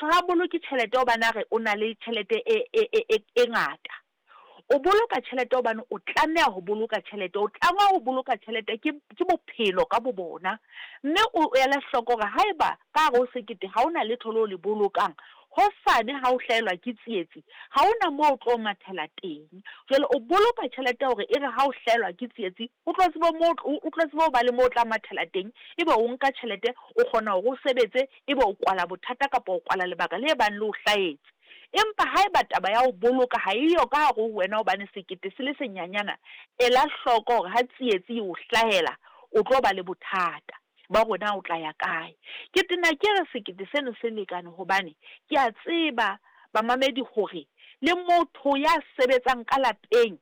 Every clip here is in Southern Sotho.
Motho ha a boloke tjhelete hobane a re o na le tjhelete e e e e e ngata. O boloka tjhelete hobane o tlameha ho boloka tjhelete, o tlangwa ho boloka tjhelete ke ke bophelo ka bo bona. Mme o ele hloko hore haeba ka hare ho sekete ha ho na letho leo le bolokang, hosane ha o hlahelwa ke tsietsi, ha ho na moo o tlo mathela teng. Jwale o boloka tjhelete hore e re ha o hlahelwa ke tsietsi, o tlo tsebe moo o tlo tsebe ho ba le moo o tla mathela teng, ebe o nka tjhelete o kgona hore o sebetse, ebe o kwala bothata kapa o kwala lebaka le bang le o hlahetse. Empa haeba taba ya ho boloka ha eyo ka hare ho wena hobane sekete se le senyanyana, ela hloko hore ha tsietsi e o hlahela, o tlo ba le bothata ba hore na o tla ya kae. Ke tena ke re sekete seno se lekane hobane ke a tseba bamamedi hore le motho ya sebetsang ka lapeng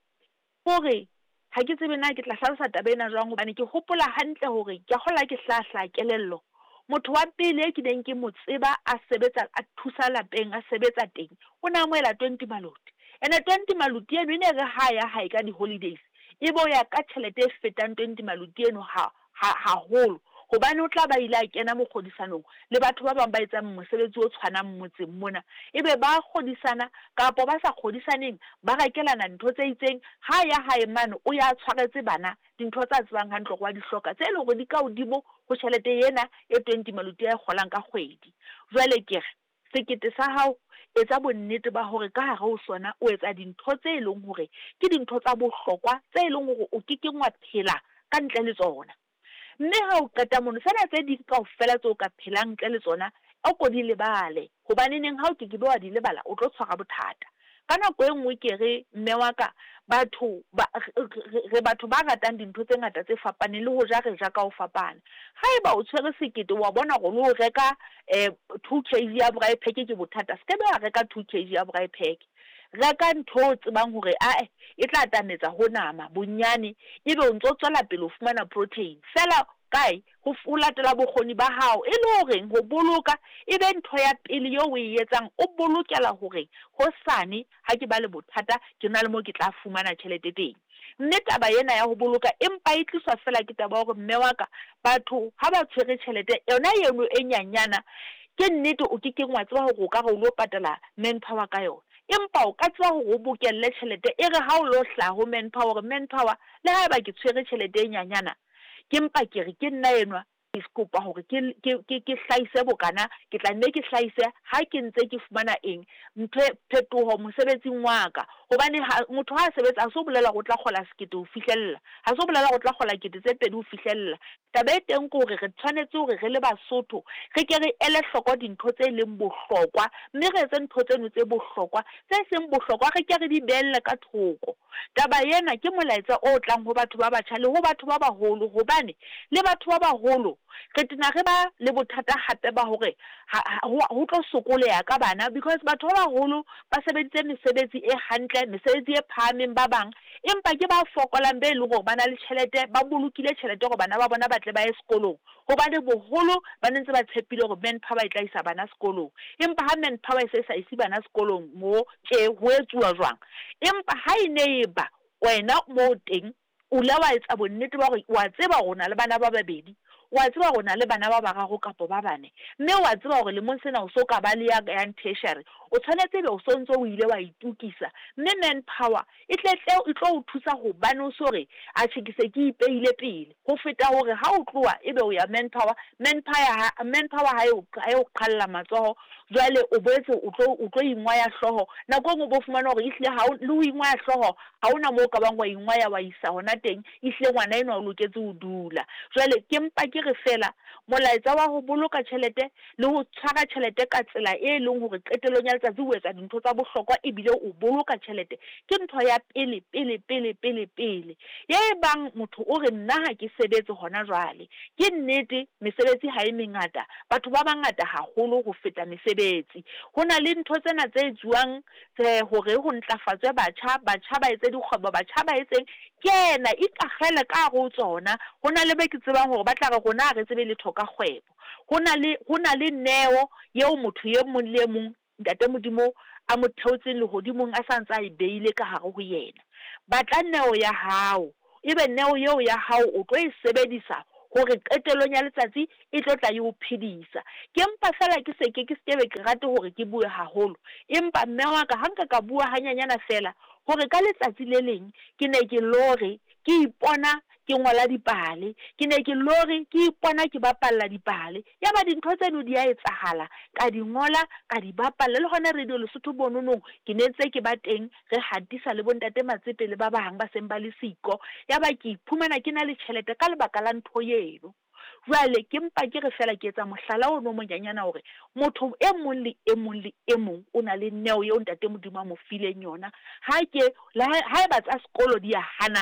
hore ha ke tsebe na ke tla hlalosa taba ena jwang hobane ke hopola hantle hore ke a kgolwa ha ke hlaha-hlaha kelello. Motho wa pele e ke neng ke mo tseba a sebetsa a thusa lapeng a sebetsa teng, o ne a amohela 20 maloti. Ene 20 maloti eno e ne re ha ya hae ka di-holidays, e be o ya ka tjhelete e fetang 20 maloti eno ha ha haholo. Hobane o tla ba ile a kena mokgodisanong le batho ba bang ba etsang mosebetsi o tshwanang motseng mona. Ebe ba kgodisana kapa ba sa kgodisaneng, ba rekelana ntho tse itseng. Ha ya hae mane o ya tshwaretse bana dintho tsa tsebang hantle hore wa di hloka, tse leng hore di ka hodimo ho tjhelete ena e 20 maloti a e kgolang ka kgwedi. Jwale ke re sekete sa hao, etsa bonnete ba hore ka hare ho sona o etsa dintho tse leng hore ke dintho tsa bohlokwa tse leng hore o kekeng wa phela ka ntle le tsona. Mme ha o qeta mono, tsena tse ding kaofela tseo ka phelang ntle le tsona, o ko di lebale. Hobaneneng ha o ke ke be wa di lebala, o tlo tshwara bothata. Ka nako e nngwe ke re mme wa ka, batho ba re batho ba ratang dintho tse ngata tse fapaneng le ho ja re ja ka ho fapana. Haeba o tshwere sekete wa bona hore le ho reka 2 kg ya braai pack ke bothata, se ke be wa reka 2 kg ya braai pack. Reka ntho o tsebang hore ae e tla atametsa ho nama bonyane, ebe o ntso tswela pele ho fumana protein. Feela kae ho latela bokgoni ba hao, e le horeng ho boloka e be ntho ya pele eo o e etsang, o bolokela hore hosane ha ke ba le bothata, ke na le moo ke tla fumana tjhelete teng. Mme taba ena ya ho boloka empa e tliswa feela ke taba ya hore mme wa ka, batho ha ba tshwere tjhelete yona eno e nyanyana, ke nnete o kekeng wa tseba hore o ka re o lo patala manpower ka yona. Empa o ka tseba hore o bokelle tjhelete e re ha o lo hlaha ho manpower hore manpower, le haeba ke tshwere tjhelete e nyanyana, ke mpa ke re ke nna enwa, ke kopa hore ke ke ke ke hlahise bokana, ke tla nne ke hlahise ha ke ntse ke fumana eng, ntho e phetoho mosebetsing wa ka. Hobane ha motho ha a sebetsa, ha se ho bolela hore o tla kgola sekete ho fihlella, ha se ho bolela hore o tla kgola kete tse pedi ho fihlella. Taba e teng ke hore re tshwanetse hore re le Basotho re ke re ele hloko dintho tse leng bohlokwa, mme re etse ntho tseno tse bohlokwa, tse seng bohlokwa re ke re di behelle ka thoko. Taba ena ke molaetsa o tlang ho batho ba batjha le ho batho ba baholo, hobane le batho ba baholo re tena re ba le bothata hape ba hore ho tlo sokoleha ka bana, because batho ba baholo ba sebeditse mesebetsi e hantle, mesebetsi e phahameng ba bang, empa ke ba fokolang be leng hore ba na le tjhelete, ba bolokile tjhelete hore bana ba bona ba tle ba ye sekolong. Hobane boholo ba ne ntse ba tshepile hore manpower e tla isa bana sekolong. Empa ha manpower e se sa ise bana sekolong mo tje ho etsuwa jwang? Empa ha e ne e ba wena moo teng o ile wa etsa bonnete ba hore wa tseba hore o na le bana ba babedi, wa tseba hore o na le bana ba bararo kapa ba bane, mme wa tseba hore lemong sena o so ka ba le ya yang tertiary, o tshwanetse ebe o so ntso o ile wa itokisa. Mme manpower e tle tle e tlo o thusa hobane o so re atjhe ke se ke ipehile pele, ho feta hore ha o tloha ebe o ya manpower, manpower ha e o qhalla matsoho, jwale o boetse o tlo o tlo ingwaya hlooho. Nako e nngwe o bo fumana hore ehlile ha o le ho ingwaya hlooho, ha hona moo o ka bang wa ingwaya wa isa hona teng, ehlile ngwana enwa o loketse ho dula. Jwale ke mpa ke re feela molaetsa wa ho boloka tjhelete le ho tshwara tjhelete ka tsela e leng hore qetellong ya letsatsi o etsa dintho tsa bohlokwa ebile o boloka tjhelete, ke ntho ya pele pele pele pele pele. Ye e bang motho o re nna ha ke sebetse hona jwale, ke nnete mesebetsi ha e mengata, batho ba bangata haholo ho feta mesebetsi. Ho na le ntho tsena tse etsuwang tse hore ho ntlafatswe batjha, batjha ba etse dikgwebo, batjha ba etseng, kena ikakgele ka hare ho tsona. Ho na le be ke tsebang hore ba tla re rona ha re tsebe letho ka kgwebo. Ho na le neo eo motho e mong le e mong Ntate Modimo a mo theotseng lehodimong a sa ntse a e beile ka hare ho yena. Batla neo ya hao, ebe neo eo ya hao o tlo e sebedisa hore qetellong ya letsatsi e tlo tla e o phedisa. Ke mpa feela ke se ke, ke se ke be ke rate hore ke bue haholo, empa mme wa ka, ha nka ka bua hanyanyana feela, hore ka letsatsi le leng ke ne ke lore ke ipona ke ngola dipale, ke ne ke lore ke ipona ke bapalla dipale. Yaba dintho tseno di a etsahala, ka di ngola, ka di bapalla. Le hona Radio Lesotho bononong ke ne ntse ke ba teng, re hatisa le bo-ntate Matsepe le ba bang ba seng ba le siko. Yaba ke iphumana ke na le tjhelete ka lebaka la ntho eno. Jwale ke mpa ke re feela ke etsa mohlala ono o monyanyana hore motho e mong le e mong le e mong o na le neo eo Ntate Modimo a mo fileng yona. Ha ke, le ha, haeba tsa sekolo di a hana,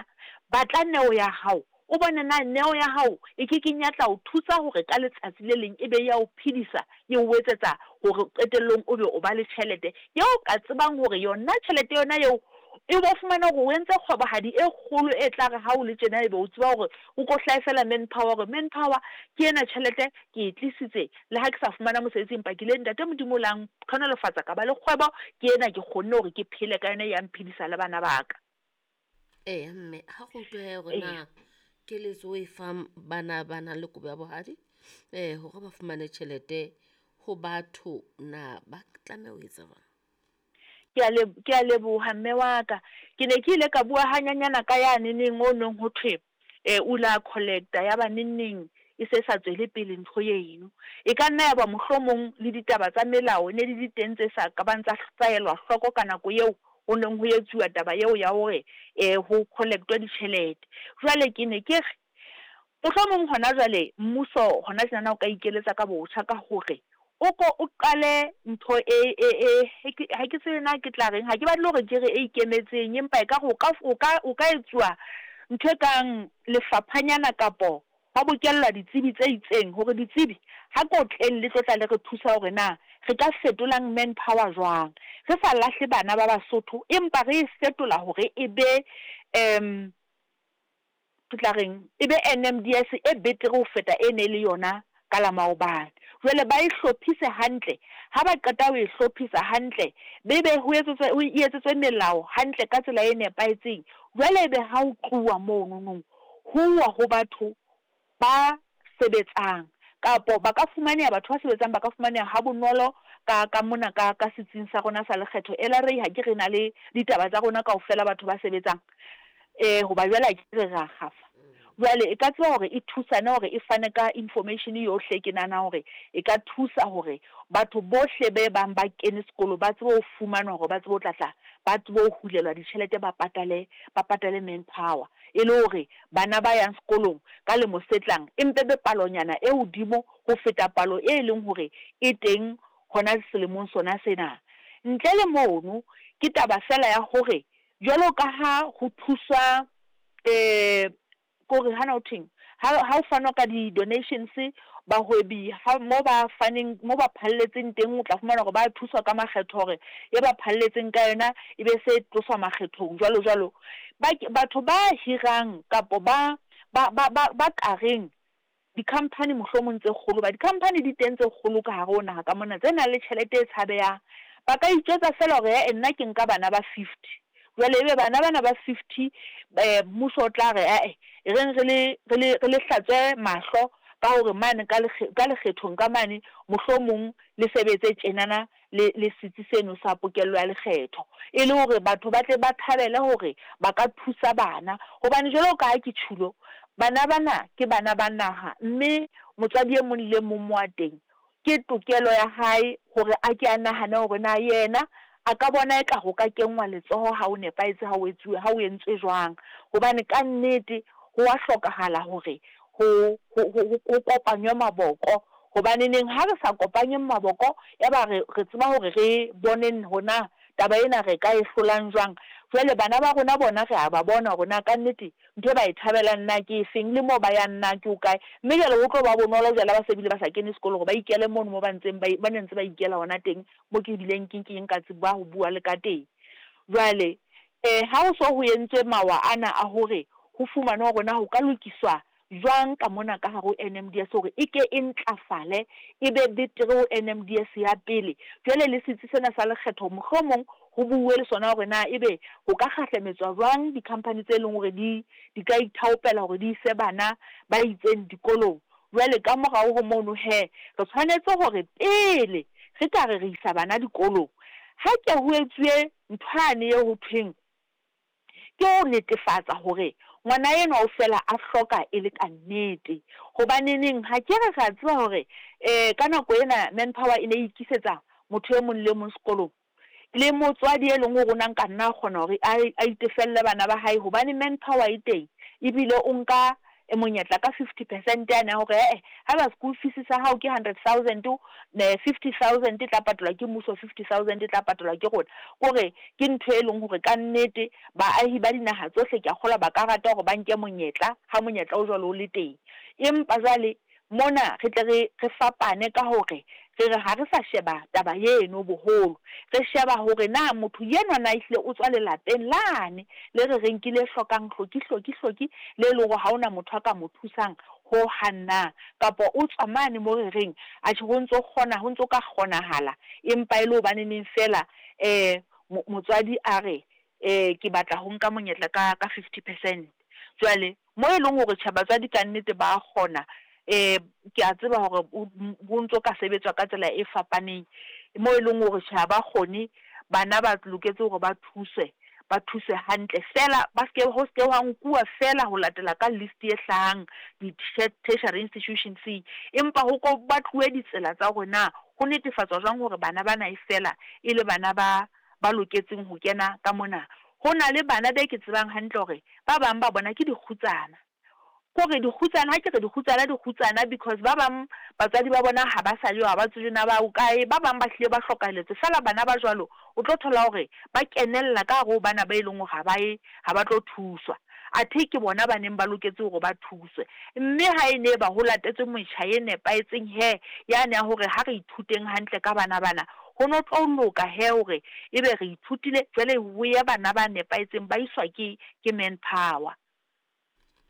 batla neo ya hao, o bone na neo ya hao e ke keng ya tla o thusa hore ka letsatsi le leng e be ya o phedisa, e o etsetsa hore qetellong o be o ba le tjhelete eo o ka tsebang hore yona tjhelete yona eo e bo fumana hore o entse kgwebohadi e kgolo e tla re ha o le tjena ebe o tseba hore o ko hlahe feela manpower hore manpower ke ena tjhelete ke e tlisitse le ha ke sa fumana mosebetsi empa ke ile ntate Modimo o la ntlhonolofatsa ka ba le kgwebo ke ena ke kgonne hore ke phele ka yona ya mphedisa le bana ba ka. Eya mme ha go utlwe hore na keletso e fang bana ba nang le kobo ya bohadi hore ba fumane tjhelete ho batho na ba tlameha ho etsa jwang? Ke a ke a leboha mme wa ka. Ke ne ke ile ka bua hanyanyana ka yane neng o neng ho thwe o la collecta ya ba neng neng e se sa tswele pele ntho eno. E ka nna ya ba mohlomong le ditaba tsa melao ne di le teng tse sa ka bang tsa tsa elwa hloko ka nako eo ho neng ho etsuwa taba eo ya hore ho collectwe ditjhelete. Jwale ke ne ke re Mohlomong hona jwale mmuso hona tjenana o ka ikeletsa ka botjha ka hore o ko o qale ntho e, e, e, ha ke tsebe na ke tla reng, ha ke batle hore ke re e ikemetseng, empa ekare o ka, o ka, o ka etsuwa ntho e kang lefaphanyana kapo hwa bokellwa ditsebi tse itseng hore ditsebi ha ko tleng le tlo tla le re thusa hore na re ka fetolang manpower jwang. Re sa lahle bana ba Basotho empa re e fetola hore e be um Ke tla reng? E be NMDS e betere ho feta e ne e le yona ka la maobane. Jwale ba e hlophise hantle, ha ba qeta ho e hlophisa hantle, be be ho etsetswe, e etsetswe melao hantle ka tsela e nepahetseng. Jwale ebe ha ho tluwa monono, ho uwa ho batho ba sebetsang, kapo ba ka fumaneha, batho ba sebetsang ba ka fumaneha ha bonolo ka, ka mona ka, ka setsing sa rona sa lekgetho. LRA ha ke re na le ditaba tsa rona kaofela batho ba sebetsang, eh, hoba jwale ha ke re ra kgafa. Jwale e ka tseba hore e thusane hore e fane ka information yohle, ke nahana hore e ka thusa hore batho bohle be bang ba kene sekolo ba tsebe ho fumanwa hore ba tsebe ho tla tla ba tsebe ho hulelwa ditjhelete ba patale, ba patale manpower. E le hore bana ba yang sekolong ka lemo se tlang e mpe be palonyana e hodimo ho feta palo e leng hore e teng hona selemong sona sena. Ntle le mono, ke taba feela ya hore jwalo ka ha ho thuswa ke hore hana ho thweng, ha ha ho fanwa ka di-donations, bahwebi ha mo ba faneng, mo ba phalletseng teng o tla fumana hore ba thuswa ka makgetho hore e ba phalletseng ka yona e be se tloswa makgethong jwalo jwalo. Ba batho ba hirang kapo ba ba ba ba ba kareng di-company mohlomong tse kgolo, hoba di-company di teng tse kgolo ka hare ho naha ka mona tse nang le tjhelete e tshabehang. Ba ka itjwetsa feela hore eh-eh nna ke nka bana ba fifty, jwale ebe bana bana ba fifty mmuso o tla re eh-eh e reng re le re le re le hlatswe mahlo ka hore mane ka ka lekgethong ka mane mohlomong le sebetse tjenana le, le setsi seno sa pokello ya lekgetho, e le hore batho ba tle ba thabele hore ba ka thusa bana. Hobane jwalo ka ha ke tjhulo, bana bana ke bana ba naha, mme motswadi e mong le e mong mo a teng, ke tokelo ya hae hore a ke a nahane hore na yena a ka bona eka ho ka kenngwa letsoho ha ho nepahetse ha ho etsuwe, ha ho entswe jwang. Hobane ka nnete ho a hlokahala hore ho, ho, ho, ho kopanywe maboko. Hobaneneng ha re sa kopanyeng maboko yaba re, re tseba hore re boneng hore na taba ena re ka e hlolang jwang. Jwale bana ba rona bona re a ba bona hore na kannete ntho e ba e thabelang na ke efeng, le moo ba yang na ke hokae. Mme jwale ho tlo ba bonolo jwale ha ba se bile ba sa kene sekolo hore ba ikele mono moo ba ntseng ba, ba ne ntse ba ikela hona teng, moo ke bileng ke nkeng ka tseba ho bua le ka teng. Jwale ha ho so ho entswe mawa ana a hore ho fumanwe hore na ho ka lokiswa jwang ka mona ka hare ho NMDS hore e ke e ntlafale e be betere ho NMDS ya pele. Jwale le setsi sena sa lekgetho mohlomong ho buuwe le sona hore na ebe ho ka kgahlametswa jwang di-company tse leng hore di di ka ithaopela hore di ise bana ba itseng dikolong. Jwale ka morao ho mono he, re tshwanetse hore pele re ka re re isa bana dikolong, ha ke ho etsuwe ntho yane eo ho thweng ke ho netefatsa hore ngwana enwa o fela a hloka e le ka nnete. Hobaneneng ha ke re re a tseba hore ka nako ena manpower e ne e ikisetsa motho e mong le e mong sekolong? Le motswadi e leng hore o na nka nna a kgona hore a a itefelle bana ba hae hobane manpower e teng ebile o nka monyetla ka 50 percent yane ya hore eh haeba school fees sa hao ke 100 000, 50 000 e tla patalwa ke mmuso, 50 000 e tla patalwa ke rona. Kore ke ntho e leng hore ka nnete baahi ba dinaha tsohle ke a kgolwa ba ka rata hore ba nke monyetla ha monyetla o jwalo o le teng. Empa jwale mona re tle re re fapane ka hore re re ha re sa sheba taba eno boholo, re sheba hore na motho enwa na ehlile o tswa lelapeng lane le re reng ke le hlokang hloki hloki hloki, le leng hore ha hona motho a ka mo thusang ho hang na, kapa o tswa mane mo re reng atjhe ho ntso kgona, ho ntso ka kgonahala, empa e le hobaneneng fela motswadi a re ke batla ho nka monyetla ka 50%. Jwale mo e leng hore tjhe batswadi ka nnete ba kgona, ke a tseba hore ho ntso ka sebetswa ka tsela e fapaneng. Mo e leng hore tjhe ha ba kgone, bana ba loketse hore ba thuswe, ba thuswe hantle fela, ba ske ho ske hwa nkuwa fela ho latela ka list e hlahang di-tertiary institutions-eng, empa ho ko batluwe ditsela tsa hore na ho netefatswa jwang hore bana bana e fela e le bana ba ba loketseng ho kena ka mona. Ho na le bana be ke tsebang hantle hore ba bang ba bona ke dikgutsana. Kore dikgutsana, ha ke re dikgutsana, dikgutsana because ba bang batswadi ba bona ha ba sa le yo, ha ba tsebe na ba hokae, ba bang ba hlile ba hlokahelletswe. Feela bana ba jwalo o tlo thola hore ba kenella ka hare ho bana ba e leng hore ha ba ye, ha ba tlo thuswa. Athe ke bona ba neng ba loketse hore ba thuswe. Mme ha e ne ba ho latetswe metjha e nepahetseng he yane ya hore ha re ithuteng hantle ka bana bana, ho no tlo loka he hore ebe re ithutile jwale ho ye bana ba nepahetseng ba iswa ke manpower.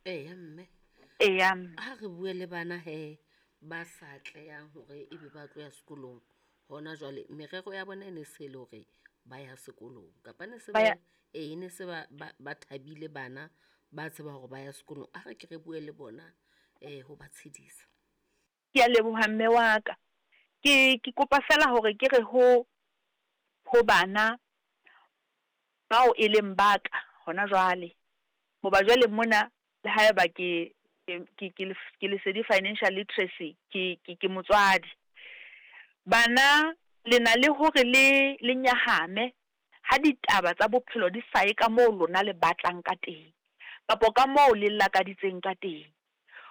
Eya mme. Eya mme. Ha re bue le bana he ba sa atlehang hore ebe ba tlo ya sekolong hona jwale, merero ya bona e ne se le hore ba ya sekolong kapa ne se Ba ba ya e ne se ba ba ba thabile, bana ba tseba hore ba ya sekolong. A re ke re bue le bona ho ba tshedisa. Ke a leboha mme wa ka. Ke kopa fela hore ke re ho bana bao e leng ba ka hona jwale. Hoba jwale mona le haeba ke Lesedi Financial Literacy, ke motswadi. Bana le na le hore le le nyahame ha ditaba tsa bophelo di sa ye ka moo lona le batlang ka teng, kapa ka moo le lakaditseng ka teng.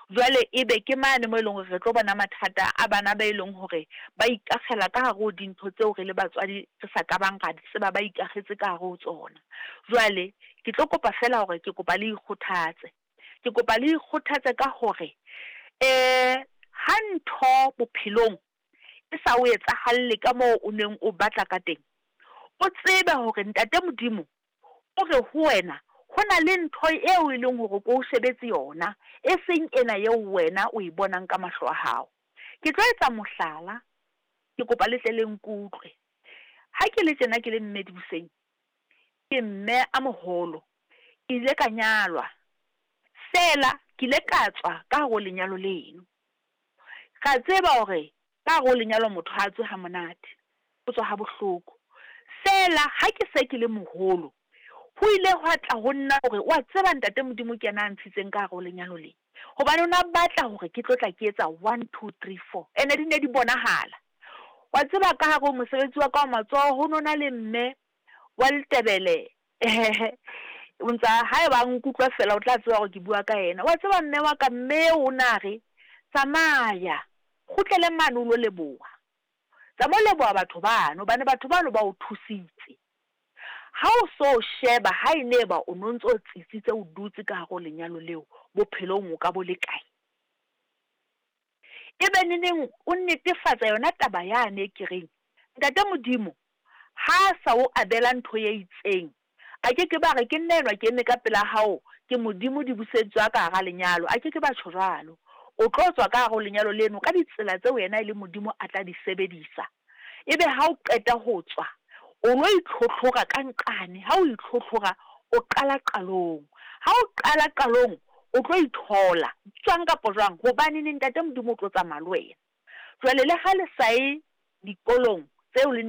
Jwale ebe ke mane mo e leng hore re tlo bona mathata a bana ba e leng hore ba ikakgela ka hare ho dintho tseo re le batswadi re sa ka bang ra di tseba ba ikakgetse ka hare ho tsona. Jwale ke tlo kopa fela hore ke kopa le ikgothatse. Ke kopa le ikgothatse ka hore ha ntho bophelong e sa o etsahalle ka moo o neng o batla ka teng, o tsebe hore ntate Modimo o re ho wena ho na le ntho eo e leng hore ko o shebetse yona, e seng ena eo wena o e bonang ka mahlo a hao. Ke tlo etsa mohlala, ke kopa le tle le nkutlwe. Ha ke le tjena ke le mme Dibuseng, ke mme a moholo, ke ile ka nyalwa, fela ke ile ka tswa ka hare ho lenyalo leno. Ra tseba hore ka hare ho lenyalo motho ha tswe ha monate, o tswa ha bohloko. Fela ha ke se ke le moholo, ho ile hwa tla ho nna hore wa tseba ntate Modimo ke yena a ntshitseng ka hare ho lenyalo le. Hobane o na batla hore ke tlo tla ke etsa 1 2 3 4, ene di ne di bonahala. Wa tseba ka hare ho mosebetsi wa ka wa matsoho ho no na le mme wa Letebele, o ntsa haeba a nkutlwa fela o tla tseba hore ke bua ka yena. Wa tseba mme wa ka, mme o na re tsamaya kgutlele mane o lo leboha, tsamaya o leboha batho bano hobane batho bano ba o thusitse. Ha o so sheba ha e ne ba o no ntso tsitsitse o dutse ka hare ho lenyalo leo, bophelong o ka bo le kae? Ebe neneng o netefatsa yona taba yane e ke reng ntate Modimo ha sa o abela ntho e itseng, Ba ke ke ba re, Ke nna enwa ke eme ka pela hao, ke Modimo di busetswa ka hara lenyalo. A ke ke ba tjho jwalo. O tlo tswa ka hare ho lenyalo leno ka ditsela tseo yena e le Modimo a tla di sebedisa. Ebe ha o qeta ho tswa, o lo itlhotlhora ka nqane. Ha o itlhotlhora, o qala qalong. Ha o qala qalong, o tlo ithola, jwang kapa jwang, hobaneneng Ntate Modimo o tlo tsamaya le wena. Jwale le ha le sa ye dikolong tseo le ne.